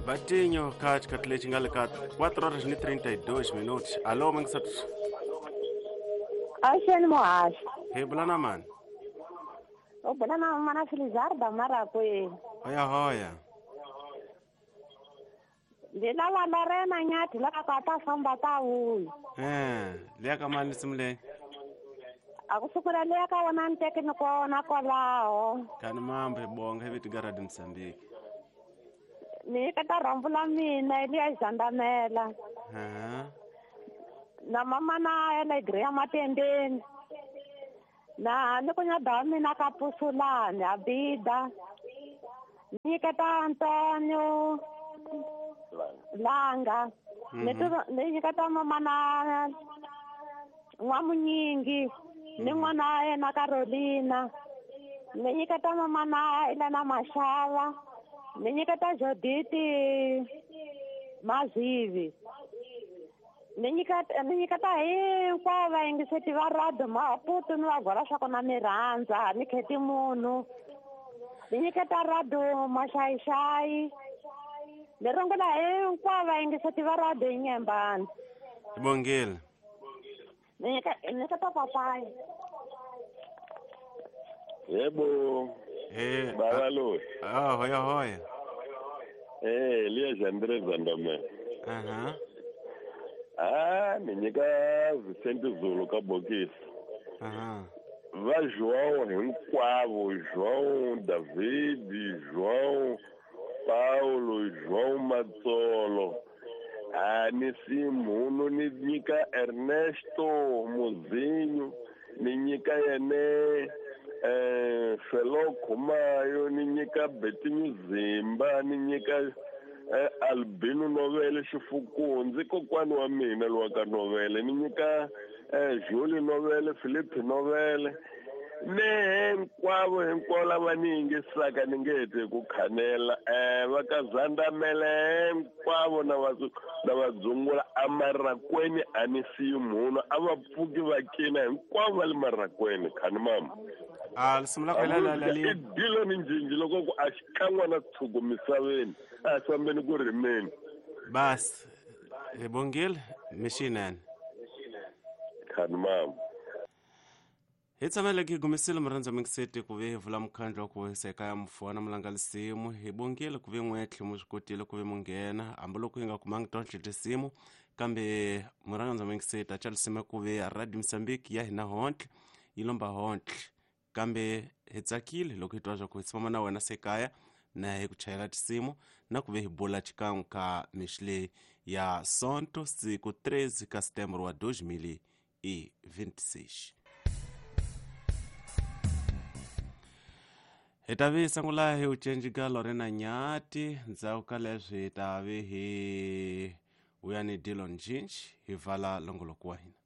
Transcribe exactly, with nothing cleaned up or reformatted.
Batinho ka xikhathi lexi nga le ka quatro horas ni trinta e dois minutos. Alô, mangisat. Axeni muhaxi. Hi bula na mani? U bula na mana Felizarda Marakweni. Hoya hoya. Ndzi lava Lorena Nyathi lava ku a ta famba ta vuya. Eh, liya ka mani nsimu leyi? A ku sukela liya ka wona ni teke ni kona kwalaho. Kani mambo hi bonga hi viti ka Radio Mozambique. Ni nyiketa rhambu la mina liya Zandamela. Aha. Na mama na ya le Greya Matendeni. Na ni ku nyada wa mina ka Pusulani Abida. Ni nyiketa Antonio Langa. Ni ni nyiketa mama na N'wamunyingi ni n'wana wa yena Carolina. Ni nyiketa mama na Elena Mashava. Ni nyiketa Joditi Mazivi. Ni nyiketa ni nyiketa hinkwavo vayingiseti va radio Maputo ni va gwala swa kona ni rhandza ni kheti munhu. Ni nyiketa radio Maxayixayi. Ni rungula hinkwavo vayingiseti va radio Inyembani. Hi bongile. Ni nyiketa ni nyiketa papayi. Yebo. Eh, baba lo. Ah, hoya hoya. Eh, liya Jandre Zandamela. Aha. Ah, ni nyika Vicente Zulu ka bokisi. Aha. Va João hinkwavo, João David, João Paulo, João Matsolo. Ah, ni si munhu ni nyika Ernesto Muzinho, ni nyika yene eh Felo Khumayo, ni nyika Betinho Zimba, ni nyika eh, Albino Novele Xifukundzi kokwani wa mina lowa ka Novele, ni nyika eh Julie Novele, Philippe Novele. Ne hinkwavo hinkwavo lava ni yingisaka ni nge heti ku khanela eh va ka Zandamela hinkwavo na va na va dzungula amarakweni a ni siyi munhu a va pfuki va kina hinkwavo va le marakweni khani mama. A risimu la la la la i dilo ni njinji loko ku a xikan'we na tshuku misaveni a fambeni ku rimeni. Bas hi bongile mixinene khani mama. Hi tshamele ki gumisile murhandza mingiseti ku ve hi vula mukhandlu wa ku hisa ya mfuwa na mulanga lisimu. Hi bongile ku ve n'wetlhe mu swi kotile ku ve mu nghena hambiloko hi nga kumangi tonhle tinsimu kambe murhandza mingiseti a tsalisimu ku ve Radio Mozambique ya hina hontle yi lomba hontle kambe hi tsakile loko hi twa swa ku hi tshama na wena sekaya na hi ku chayela tinsimu na ku ve hi bula xikan'we ka mixi leyi ya Sonto siku treze ka setembro wa dois mil e vinte e seis. Hi ta vi sungula hi ucenji ka Lorena Nyathi ndzhaku ka leswi hi ta vi hi vuya ni Dillon Jinch hi vala longoloko wa hina.